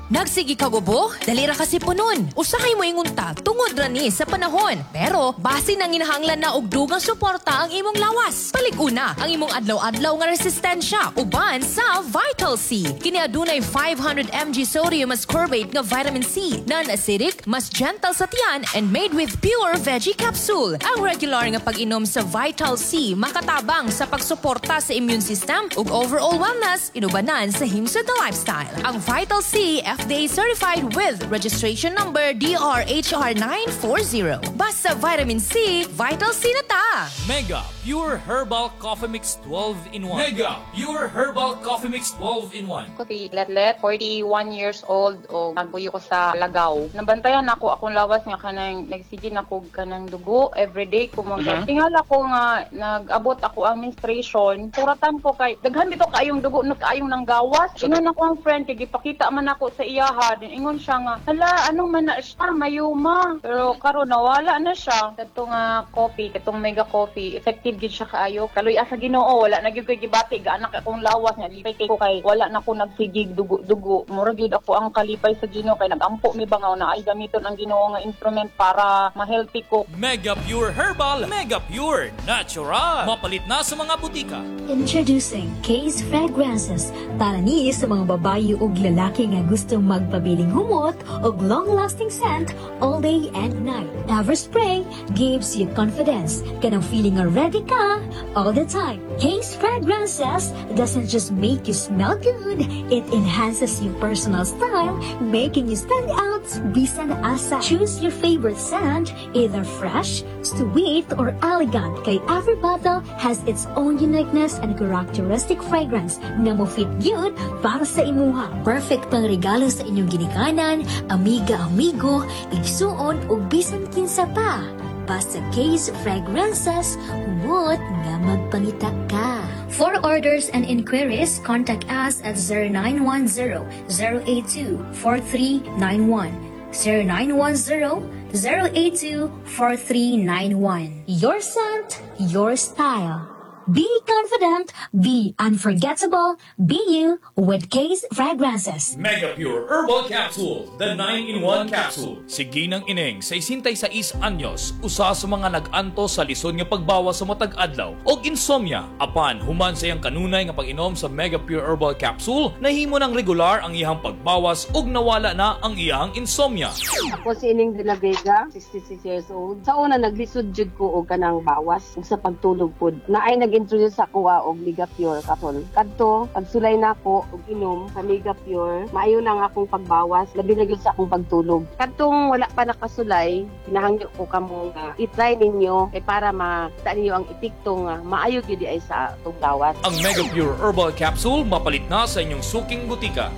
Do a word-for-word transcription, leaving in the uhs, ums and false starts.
Nagsige kag ubo? Dali ra ka siponon. Usahay mo ingon ta tungod ra ni sa panahon. Pero basi nanginahanglan na og dugang suporta ang imong lawas. Palig-una ang imong adlaw-adlaw nga resistensya uban sa Vital C. Kini adunay five hundred milligrams sodium ascorbate nga vitamin C, non-acidic, mas gentle sa tiyan and made with pure veggie capsule. Ang regular nga pag-inom sa Vital C makatabang sa pagsuporta sa immune system ug overall wellness inubanan sa himsod na lifestyle. Ang Vital C, F D A certified with registration number D R H R nine four zero. Basta vitamin C, Vital C na ta! Mega Pure Herbal Coffee Mix twelve in one. Mega Pure Herbal Coffee Mix twelve in one. Ko si Letlet, forty-one years old o nagbuyo ko sa Lagaw. Nabantayan ako akong lawas nga kanang nagsige na ko kanang dugo everyday ko mo. Mm-hmm. Tingala ko nga nag-abot ako ang menstruation. Suratan ko kay daghan bitaw kaayong dugo no kaayong nanggawas. Ingon ako ang friend kay gipakita man ako sa iyaha. Din ingon siya nga, "Hala, anong man na siya, myoma." Pero karon nawala na siya. Kadto nga coffee, katong Mega Coffee, effective gid siya kaayo. Kaluy sa Ginoo, wala na gyud koy gibati gaanak akong lawas nga lipay kay ko kay wala na ko nagsigig dugo-dugo. Mura gyud ako ang kalipay sa Ginoo kay nagampo mi ba nga na ay gamiton ang Ginoo nga instrument para ma-healthy ko. Mega Pure Herbal, Mega Pure Natural. Mapalit na sa mga butika. Introducing Case Fragrances, para ni sa mga babae ug lalaki nga gustong magpabiling humot og long-lasting scent all day and night. Every spray gives you confidence. Kanang feeling nga ready ka all the time. Case Fragrances doesn't just make you smell good, it enhances your personal style, making you stand out bisan asa. Choose your favorite scent, either fresh, sweet, or elegant. Kay every bottle has its own uniqueness and characteristic fragrance na mo fit gyud para sa imuha. Perfect pang regalo sa inyong ginikanan, amiga, amigo, igsuon ug bisan kinsa pa. Basta Case Fragrances, humot nga magpangita ka. For orders and inquiries, contact us at zero nine one zero, zero eight two, four three nine one. zero nine one zero, zero eight two, four three nine one. Your scent, your style. Be confident, be unforgettable, be you with Case Fragrances. Mega Pure Herbal Capsule, the nine-in one capsule. Si Ginang Ineng, sesenta'y sais anyos, usa sa mga nag-antos sa lisod nga pagbawas sa matag adlaw og insomnia. Apan human sa iyang kanunay nga pag-inom sa Mega Pure Herbal Capsule, nahimo ng regular ang iyang pagbawas ug nawala na ang iyang insomnia. Ako si Ining de la Vega, sixty-six years old. Sa una, naglisod jud ko og kanang bawas ug sa pagtulog pud. Naay nag-introduce sa ako og Mega Pure capsule. Kadto, pagsulay nako og inom sa Mega Pure, maayo na ang akong pagbawas, labi na gyud sa akong pagtulog. Kadtong wala pa nakasulay, hinahangyo ko kamo nga i-try ninyo kay para makita ninyo ang epekto nga maayo gyud ay sa atong gawas. Ang Mega Pure Herbal Capsule, mapalit na sa inyong suking butika.